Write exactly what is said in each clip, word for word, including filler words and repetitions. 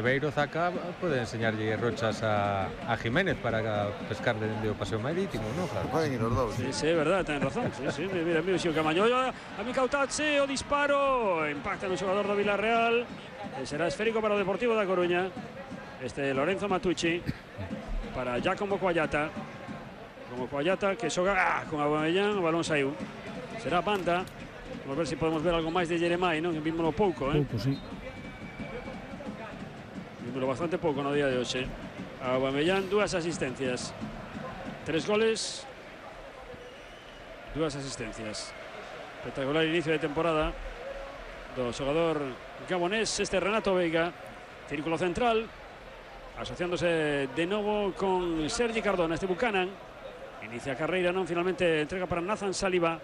Beiro Zaca puede enseñarle rochas a, a Jiménez para pescar dentro del paseo marítimo, ¿no? Claro. Pueden ir los dos. Sí, sí, es verdad, tienen razón. Sí, sí, mira, mira, si o Camaño, a mi Cautazzi, o disparo, impacta en un jugador de Villarreal, e será esférico para o Deportivo da Coruña. Este Lorenzo Matucci para Giacomo Coallata. Como Coallata que xoga ah, con Aubameyang, o balón saiu. Será banda. Vamos ver se si podemos ver algo máis de Jeremai, non? Vímoslo pouco, eh? Pouco, sí. Vímoslo bastante pouco no día de hoxe. Aubameyang, dúas asistencias. Tres goles, dúas asistencias. Espectacular inicio de temporada do xogador gabonés, este Renato Veiga. Círculo central, asociándose de novo con Sergi Cardona, este Buchanan. Inicia a carreira, non? Finalmente entrega para Nathan Saliba.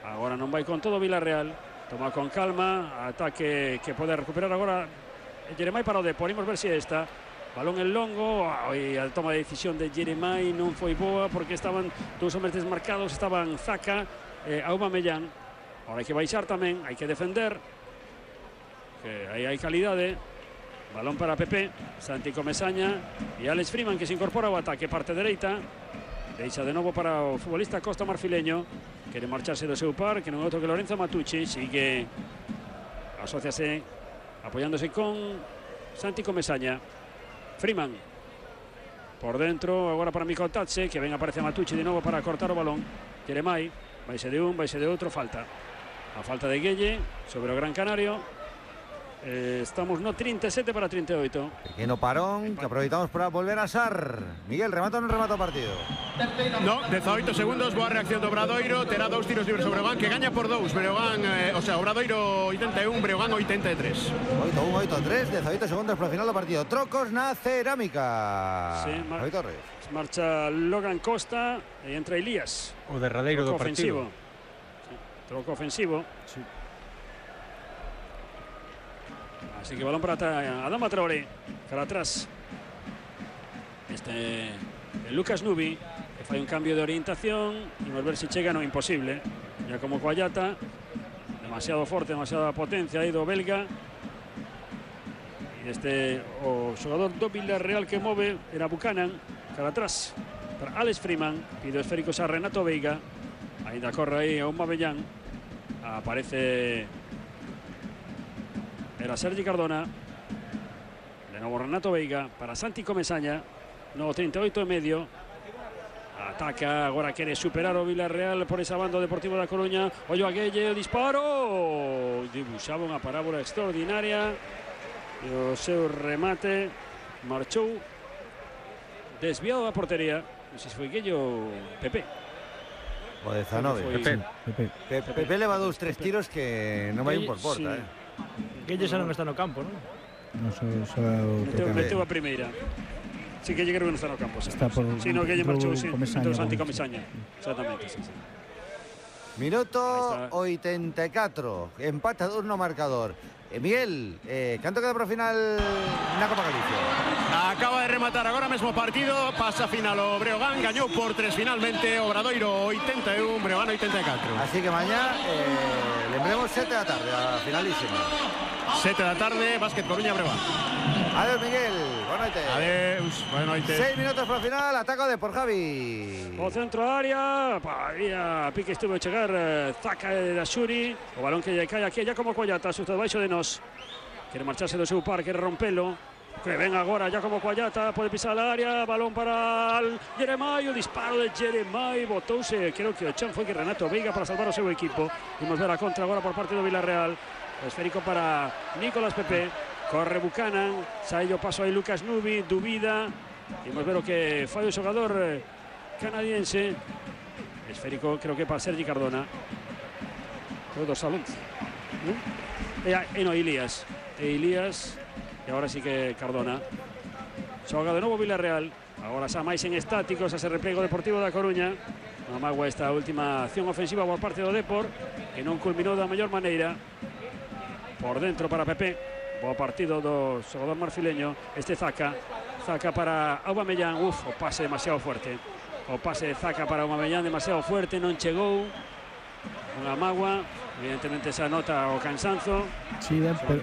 Agora non vai con todo Villarreal. Toma con calma, ataque que pode recuperar agora Jeremai para o Depor. Imos ver se esta. Balón en longo, e a toma de decisión de Jeremai non foi boa porque estaban dous hombres desmarcados, estaban Zaca e Aubameyang. Ahora hai que baixar tamén, hai que defender, que aí hai calidade. Balón para Pepe, Santi Comesaña e Alex Freeman, que se incorpora ao ataque, parte dereita. Deixa de novo para o futbolista Costa Marfileño. Quere marcharse do seu par, que non é outro que Lorenzo Matucci. Sigue, asociase, apoiándose con Santi Comesaña. Freeman por dentro, agora para Mico Tatse, que ven aparece Matucci de novo para cortar o balón. Jeremai, vaise de un, vaise de outro, falta. A falta de Guelle sobre o Gran Canario. Eh, estamos no treinta e sete para treinta e oito. Pequeno parón que aproveitamos para volver a Sar. Miguel, remata ou non remata o partido? No, dezaoito segundos, boa reacción do Obradoiro. Terá dous tiros libres sobre Breogán, que gaña por dous. Breogán, eh, o sea, Obradoiro oitenta e un, Breogán oitenta e tres. oito un, oito tres, dezaoito segundos para o final do partido. Trocos na cerámica. Sí, mar Torres. Marcha Logan Costa e entra Elías. O derradeiro do partido. Sí, troco ofensivo. Sí. Así que balón para Adama Traoré, para atrás. Este el Lucas Nubi, que fai un cambio de orientación. Y a ver si chega, no, imposible. Ya como Coallata, demasiado forte, demasiada potencia aí do belga. E este o xogador do Villarreal que move era Buchanan, para atrás para Alex Freeman. Pide esféricos a Renato Veiga. Ainda corre aí a Aubameyang. Aparece era Sergi Cardona. De novo Renato Veiga para Santi Comesaña. No, treinta e oito e medio. Ataca, agora quere superar o Villarreal por esa banda Deportivo da Coruña. Ollo a Guelle, o disparo. Dibuixaba unha parábola extraordinaria. E o seu remate marchou desviado da portería. Non sei se foi Guelle ou Pepe. O de Zanove. Pepe. Pepe. Pepe, Pepe leva dous, tres tiros que non vai un por porta, sí. eh. Guelle xa non está no campo, non? Non só meteu, meteu a primeira. Sí, que creo que non está no campo. Está por, sí, no, que lle marchou, sí, Comesaña, Santi bueno, Comesaña. sí. Exactamente, sí, sí. Minuto oitenta e catro. Empata dous no marcador. Eh, Miguel, eh, canto queda para o final na Copa Galicia? Acaba de rematar agora mesmo o partido. Pasa final o Breogán, gañou por tres finalmente. Obradoiro oitenta e un, Breogán oitenta e catro. Así que mañá eh, lembremos sete da tarde, a finalísima. sete da tarde, Básquet Coruña, Breogán. Adiós, Miguel. Boa noite. Adeus, boa noite. Seis minutos para o final, ataca de por Javi. O centro da área, paría, pique estuvo a chegar eh, Zaca da Xuri. O balón que lle cae aquí, ya como Coallata, susto debaixo de nós. Quere marcharse do seu par, quere rompelo. Que ven agora ya como Coallata, pode pisar a área, balón para Jeremai, o disparo de Jeremai, botouse, creo que o chan foi que Renato Veiga para salvar o seu equipo. Vimos ver a contra agora por parte do Villarreal. O esférico para Nicolás Pepe. Corre Buchanan, sai o paso aí Lucas Nubi, dubida. Vimos ver o que fai o xogador canadiense. Esférico, creo que para Sergi Cardona. Foi dorsal once. E, e no, Elías. E Elías, e agora sí que Cardona. Xoga de novo Villarreal. Agora xa máis en estáticos, a se replego Deportivo da Coruña. Non magua esta última acción ofensiva por parte do Depor, que non culminou da mellor maneira. Por dentro para Pepe. Bo partido do xogador marfileño. Este Zaca. Zaca para Aubameyang. Uf, o pase demasiado fuerte. O pase de Zaca para Aubameyang demasiado fuerte. Non chegou. Unha magua. Evidentemente esa nota o cansanzo. Sí, ben, pero